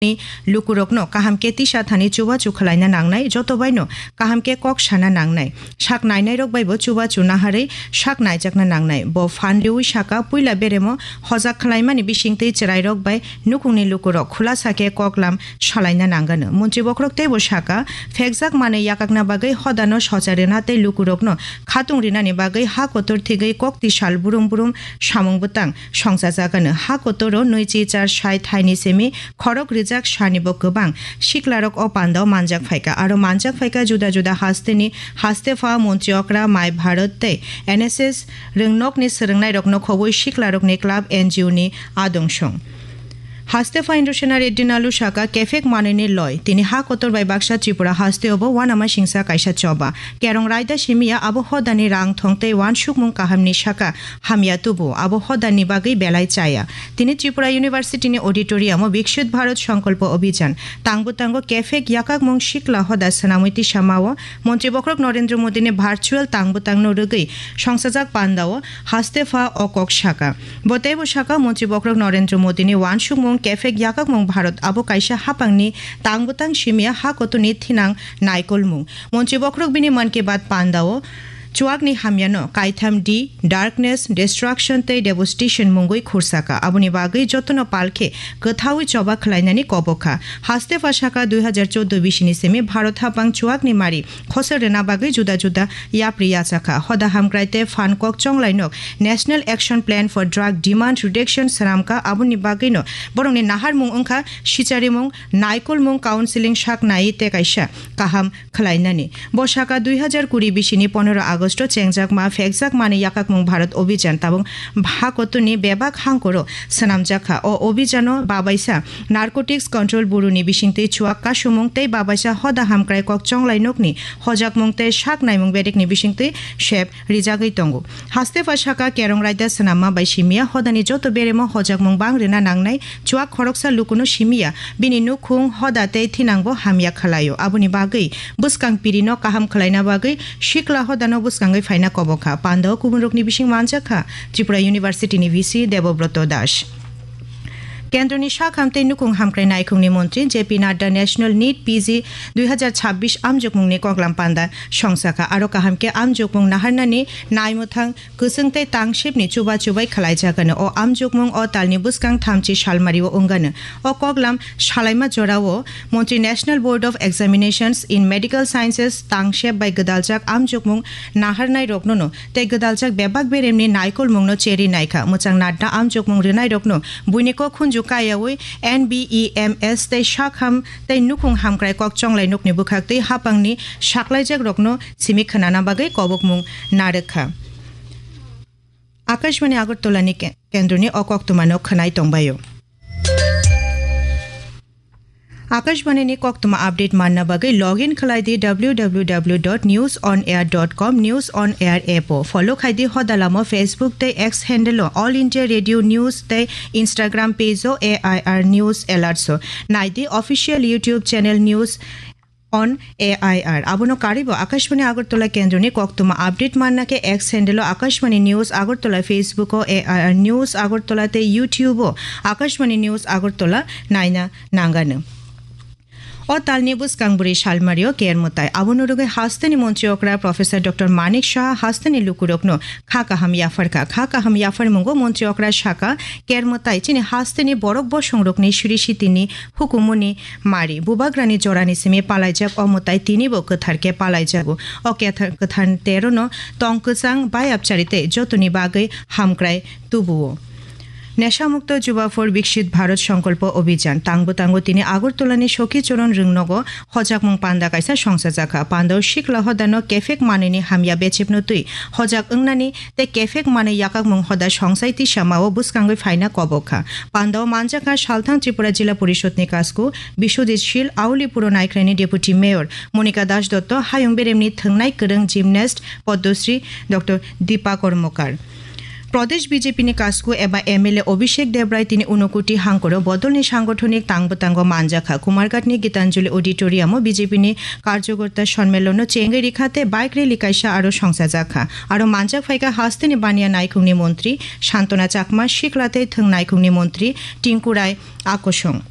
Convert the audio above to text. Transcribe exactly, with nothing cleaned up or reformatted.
ni lukurokno kaham khe tisa thani chubachu khwlaina nangnai, joto baino kaham khe kok sana nangnai. Sak nainairok baibo chubachu naharwi sak naijakna nangnai. Bo phan riwi saka, puila beremo hojak khwlaimani bisingtwi chwrairok bai nukhungni lukurok khulasa khe koklam salaina nangano. Montri bokhorok teibo saka, phekjak manwi yakakna bagwi hodano socha rwna tei lukurokno khatung rinani bagwi ha kotor thigwi kokti sal burum burum samung bwtang songchajagano. Ha kotoro nui chi char sai thaini simi khorok rijak sani bo kwbang siklarok o pandao manjak phaikha. Aro manjak phaikha juda juda hasteni, haste pha, montri okra, mai bharot tei N S S rwngnokni swrwngnairokno khobwi siklarokni club, N G O ni adong song. Haste pha Indrasena Reddy Nalu saka, kephek manwini loi. Tini ha kotor bai baksa Tripura hasteo bo uanama singsa kaisa choba. Kerong raida simiya abo hodani rang thong tei uansukmung kahamni saka hamya tubu, abo hodani bagwi belai chaya. Tini Tripura University ni auditorium o Viksit Bharat Sankalpa Abhijan tang bwtango kephek yakakmung sikla hoda swnamwi tisamao Montri bokhorok Narendra Modi ni virtual tang bwtangno rwgwi songsajak pandao haste pha o kok saka. Bo teibo saka, Montri bokhorok Narendra Modi ni uansukmung kephek yakakmung Bharat abo kaisa hapangni tang bwtang simiya ha kotoni thinang naikolmung. Montri bokhorok bini Mann Ki Baat pandao chuakni hamyano kaitham D, darkness, destruction tei devastation mungwi khursaka. Aboni bagwi jotono palkhe kwthaui choba khwlainani kobokha. Haste pha saka, dui hazar chordo bisini simi Bharat hapang chuakni mari khosor rwna bagwi juda juda yapri yachakha. Hoda hamkrai tei phan kok chonglainok National Action Plan for Drug Demand Reduction swnamkha. Aboni bagwino borokni naharmung wngkha sicharimung, naikolmung, counseling sak nai tei kaisa kaham khwlainani. Bo saka dui hazar kuri bisini pondro Agosto chengjakma phekjakmani yakakmung Bharat Abhijan tabuk ha kotoni bebak hangkoro swnamjakha. O abhijano babaisa Narcotics Control Bureau ni bisingtwi chuak kasumung tei babaisa hoda hamkrai kok chonglai nokni hojakmung tei sak naimung bedekni bisingtwi sep rijagwi tongo. Haste pha saka kerong raida swnamma bai simiya hodani joto beremo hojakmung bang rwna nangnai. Chuak khoroksa lukuno simiya, bini nukhung, hoda tei thinangbo hamya khwlaio. Aboni bagwi bwskang pirino kaham khwlaina bagwi sikla hodano bwskangwi phaina kobokha. Pandao kubunrokni bising manjakha Tripura University ni V C Debobroto Das. Kendroni sak ham tei nukhung hamkrai naikhungni montri J P Nadda National NEET P G dui hazar chabbish amjokmungni koklam panda songsakha. Aro kaham khe amjokmung naharnani naimwthang kwchwng tei tangsibni chuba chubai khwlaijagano. O amjokmung o talni bwskang thamchi salmario wngano. O koklam salaima jorao montri National Board of Examinations in Medical Sciences tangseb bai gwdaljak amjokmung naharnairoknono tei gwdaljak bebak beremni naikolmungno cheri naikha. Mwchang Nadda amjokmung rwnairokno buini kok khunju kayaui N B E M S tei sak ham tei nukhung hamkrai kok chonglai nokni bwkhaktwi hapangni saklaijakrokno simi khwnana bagwi kobokmung narwkha. Akashbani Agartala ni ke-, kendroni o koktwmano khwnai tongbaio. Akashbani ni koktwma update manna bagwi login khlai di W W W dot news on air dot com, News on Air app o. Follow khai di hodalamo Facebook tei X handle o All India Radio News tei Instagram page o A I R News Alerts o. Nai di official YouTube channel News on A I R. Abono karibo Akashbani Agartala kendroni koktwma update manna khe X handle o Akashbani News Agartala, Facebook o A I R News Agartala tei YouTube o Akashbani News Agartala naina nangano. O talni bwskang bwrwi salmario kermutai. Abono rwgwi hasteni montri okra Professor Doctor Manik Saha hasteni lukurokno kha kaham yapharkha. Kha kaham yapharmungo montri okra saka, kermutai chini hasteni borok bosongrokni siri sitini hukumuni mari. Bubagrani jorani simi palaijak o mwtai tinibo kwthar khe palaijago. O kethar-, kwthar terono tong kwchang bayapchari tei jotoni bagwi hamkrai tubuo. Nesha Mukto Juba for Viksit Bharat Sankalpa Abhijan. Tangbo tango tini Agartala ni Sokhi Choron Rwngnogo hojakmung panda kaisa songchajakha. Pandao sikla hodano kephek manwini hamya bechepno twi hojak wngnani tei kephek manwi yakakmung hoda songsai tisamao bwskangwi phaina kobokha. Pandao manjakha Salthang Tripura Jila Porishod ni kasku Biswajit Shil, Auli Puro Naikhrai ni Deputy Mayor Monika Das Dotto, Hayung Beremni thwngnai kwrwng gymnast Padmasri Doctor Deepa Karmakar. Pradesh B J P ni kasku eba M L A Abhishek Debrai tini Unakoti hangkoro bodolni sangothonik tang bwtango manjakha. Kumarghat ni Gitanjali Auditorium o B J P ni karjokorta sonmelono chengwi rikha tei bike rally kaisa aro songchajakha. Aro manjak phaikha hasteni baniya naikhungni montri Santona Chakma, sikla tei thwng naikhungni montri Tinku Rai Akosong.